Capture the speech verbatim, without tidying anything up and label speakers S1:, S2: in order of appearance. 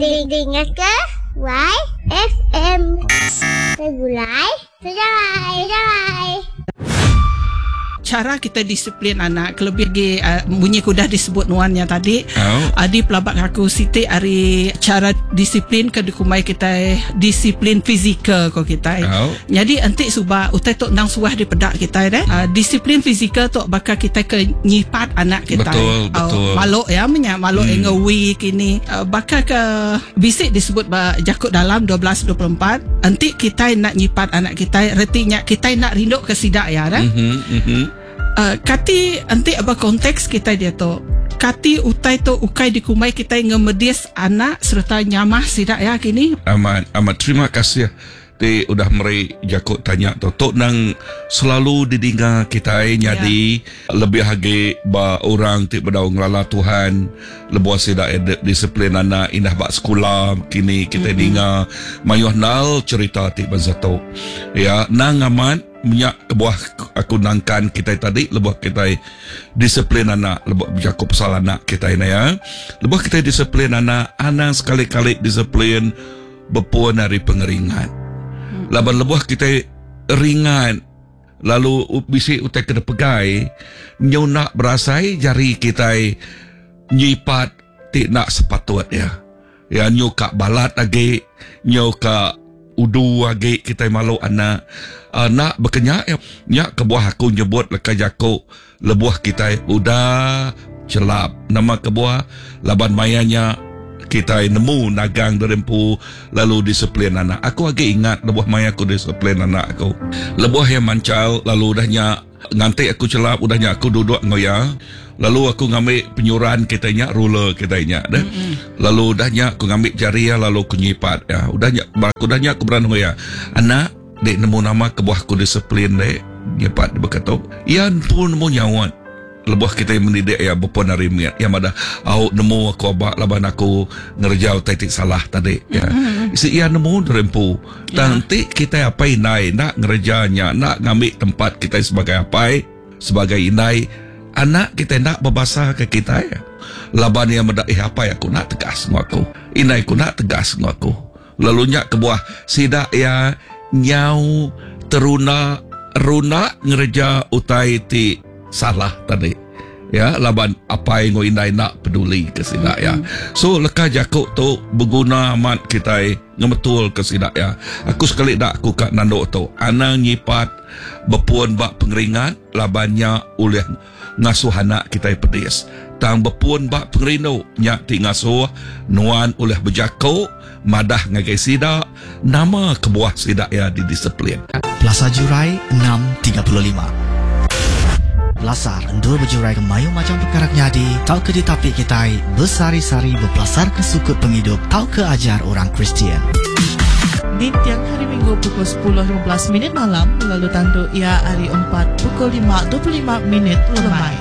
S1: Dinga ke Y F M Segulai Sejalai Sejalai.
S2: Cara kita disiplin anak kelebih lagi uh, bunyi ke udah disebut nuannya tadi.
S3: Oh.
S2: Uh, di pelabak aku siti ari cara disiplin ke dikumbai kita disiplin fizikal ko kita.
S3: Oh.
S2: Jadi enti suba utai tu nang suah dipedak kita deh. Uh, disiplin fizikal tu bakal kita ke nyipat anak kita.
S3: Betul, betul.
S2: Uh, maluk ya menya maluk hmm. ngewi kini. Uh, bakal ke bisik disebut ba jakut dalam dua belas dua puluh empat enti kita nak nyipat anak kita retinya kita nak rindu ke sidak ya dah.
S3: Mhm mhm.
S2: Uh, kati enti apa konteks kita dia tu kati utai tu ukai dikumai kita ngemedis anak serta nyamah sidak ya kini.
S3: Amat amat terima kasih ti udah meri jakut tanya tu tok nang selalu didinga kita nyadi ya. Lebih agi ba orang ti bedau ngelala Tuhan lebuh sida disiplin anak indah ba sekolah kini kita mm-hmm. dinga mayuh nal cerita ti bansa tu ya nang amat minyak kebuah aku nangkan kita tadi lebuh kita disiplin anak lebuh berjaku pasal anak kita ini ya lebuh kita disiplin anak anak sekali-kali disiplin berpuan dari pengeringan. Laban lebuh kita ringan lalu bisi utai kena pegai nyu nak berasai jari kita nyipat ti nak sepatut ya ya nyu ka balat lagi nyu ka udu agi kita malu anak anak berkenyak ya nyak kebuah aku nyebut leka jako lebuh kita udah celap nama kebuah laban mayanya kita nemu nagang derempu lalu disiplin anak. Aku agi ingat lebuh maya aku disiplin anak aku. Lebuh yang mancal lalu udahnya nganti aku celap udahnya aku duduk ngoya. Lalu aku ngambil penyuran kita nya ruler kita nya deh. Mm-hmm. Lalu udahnya aku ngambil jari ya lalu aku nyipat ya. Udahnya aku udahnya aku berani ngoya. Anak dek nemu nama kebuah aku disiplin dek nyipat berkata. Ia pun nemu nyawat. Lebuh kita mendidik ya berpun hari miat yang ada au nemu aku abak laban aku ngerjau titik salah tadi ya. Mm-hmm. Si ia nemu derempu. Nanti yeah. kita apa inai nak ngerjanya nak ngambil tempat kita sebagai apai sebagai inai anak kita nak berbahasa ke kita ya. Laban yang mendak eh apa aku nak tegas ngau aku. Inai aku nak tegas ngau aku. Lalu nyak kebuah sidak ya nyau teruna runa ngerja utai ti salah tadi ya laban apai ngau indai nak peduli ke sidak ya. So leka jakuk tu berguna amat kita ngebetul ke sidak ya. Aku sekali dak aku kat nanduk tu anang nyipat berpuan bak pengeringat labannya oleh ngasuh anak kita pedis. Tang berpuan bak pengerindu nyak ti ngasuh nuan oleh berjakuk madah ngagai sidak nama kebuah sidak ya didisiplin.
S4: Plaza Jurai enam tiga puluh lima. Pelasar endur berjurai ke mayu macam perkara nyadi tau ke ditapik kitai besari-sari berpelasar ke sukut penghidup tau ke ajar orang Kristian.
S5: Di tiang hari Minggu pukul sepuluh lima belas minit malam lalu tanduk ia hari empat pukul lima dua puluh lima minit lemai.